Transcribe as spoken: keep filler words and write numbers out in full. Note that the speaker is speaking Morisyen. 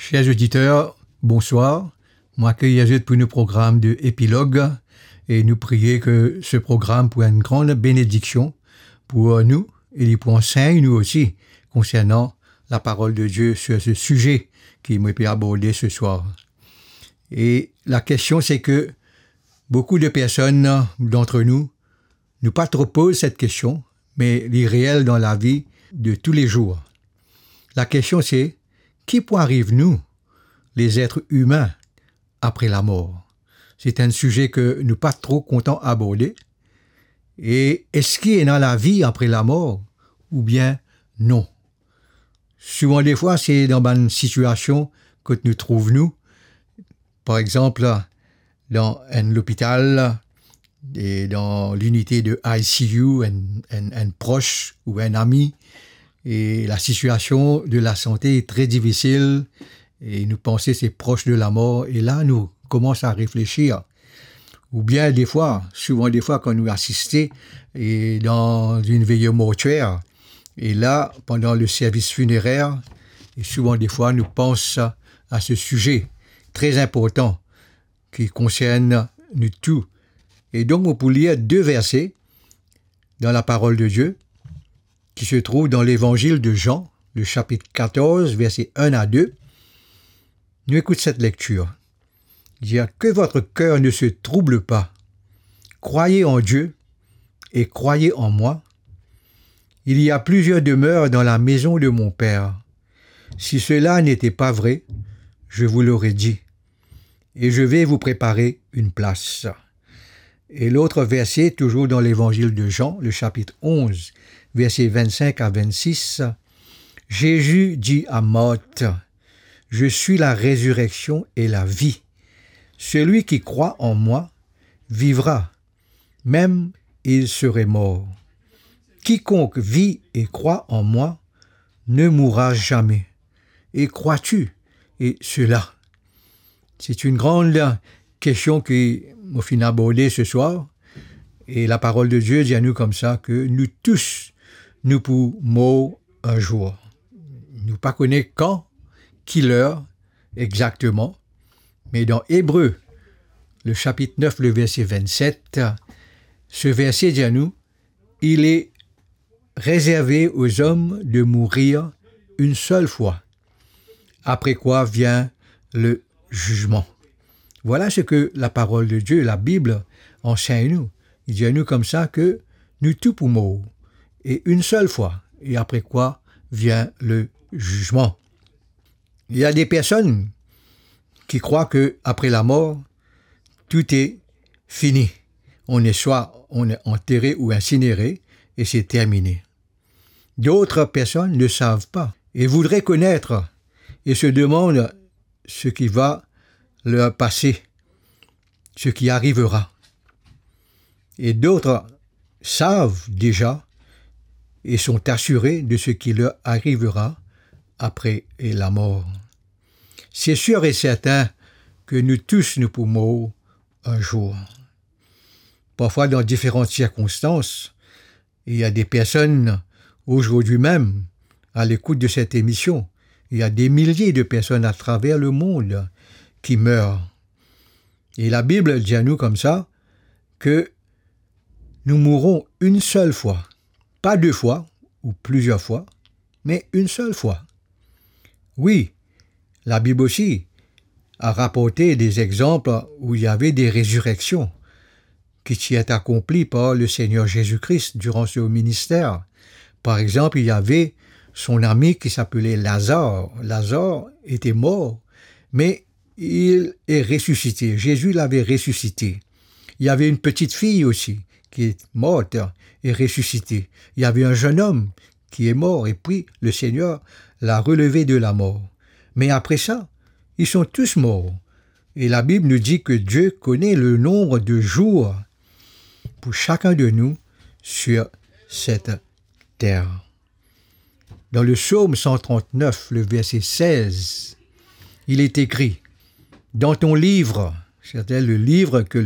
Chers auditeurs, bonsoir. Mo akeyir zot pou nou program de Epilog e nou priye ke se program pou enn gran benediksion pou nou e li pou ansegn nou osi konsernan laparol de Die sur se size ki mo pe aborde se swar. E lakestion se ke boukou de personn, d'antre nou, nou pa tro poz set kestion, me li reel dan lavi de toulezour. Lakestion se, ki pou ariv nou, lezetre imin, apre lamor? Se enn size ke nou pa tro kontan aborde. E eski ena lavi apre lamor oubien non? Souvan defwa, se dan bann sitiasion kot nou trouv nou, par exanp, dan enn lopital, e dan linite de I C U, enn, enn, enn pros ou enn ami, e lasitiasion de lasante e tre difisil, e nou panse se pros de lamor, e la nou koumans a reflesir. Oubien defwa, souvan defwa, kan nou asiste e dan enn veye mortyer, e la, pandan le servis finerer, e souvan defwa, nou pans a se size tre inportan ki konsern nou tou. E donk, mo pou lir de verse dan laparol de Die, ki se trouv dan Levanzil de Zan, le sapit katorz, verse enn a de. Nou ekout set lektir. Dir, que votre cœur ne se trouble pas. Croyez en Dieu et croyez en moi. Il y a plusieurs demeures dans la maison de mon Père. Si cela n'était pas vrai, je vous l'aurais dit. Et je vais vous préparer une place. Et l'autre verset, toujours dans l'évangile de Jean, le chapitre onze, versets vingt-cinq à vingt-six, Jésus dit à Marthe, je suis la résurrection et la vie. Celui qui croit en moi vivra, même il serait mort. Quiconque vit et croit en moi ne mourra jamais. Et crois-tu et cela? C'est une grande question que mo finn aborde se swar. E laparol de Die dir nou koumsa ke nou tous, nou pou mor enn zour. Nou pa kone kan, ki ler exakteman, me dan Ebre, le chapitre neuf, le verset vingt-sept, se verse dir nou, il est réservé aux hommes de mourir une seule fois, après quoi vient le jugement. Voilà ce que la parole de Dieu, la Bible, enseigne nous. Il dit à nous comme ça que nous tout pour mort, et une seule fois, et après quoi vient le jugement. Il y a des personnes qui croient que après la mort, tout est fini. On est soit on est enterré ou incinéré et c'est terminé. D'autres personnes ne savent pas et voudraient connaître et se demandent ce qui va leur passer, ce qui arrivera. Et d'autres savent déjà et sont assurés de ce qui leur arrivera après la mort. C'est sûr et certain que nous tous, nous pour mor enn zour. Parfois, dans différentes circonstances, il y a des personnes aujourd'hui même à l'écoute de cette émission. Il y a des milliers de personnes à travers le monde qui meurent. Et la Bible dit à nous comme ça que nous mourrons une seule fois, pas deux fois ou plusieurs fois, mais une seule fois. Oui, la Bible aussi a rapporté des exemples où il y avait des résurrections qui étaient accomplies par le Seigneur Jésus-Christ durant son ministère. Par exemple, il y avait son ami qui s'appelait Lazare. Lazare était mort, mais il est ressuscité. Jésus l'avait ressuscité. Il y avait une petite fille aussi qui est morte et ressuscitée. Il y avait un jeune homme qui est mort et puis le Seigneur l'a relevé de la mort. Mais après ça, ils sont tous morts. Et la Bible nous dit que Dieu connaît le nombre de jours pour chacun de nous sur cette terre. Dans le psaume cent trente-neuf, le verset seize, il est écrit, dans ton livre, c'est-à-dire le livre que le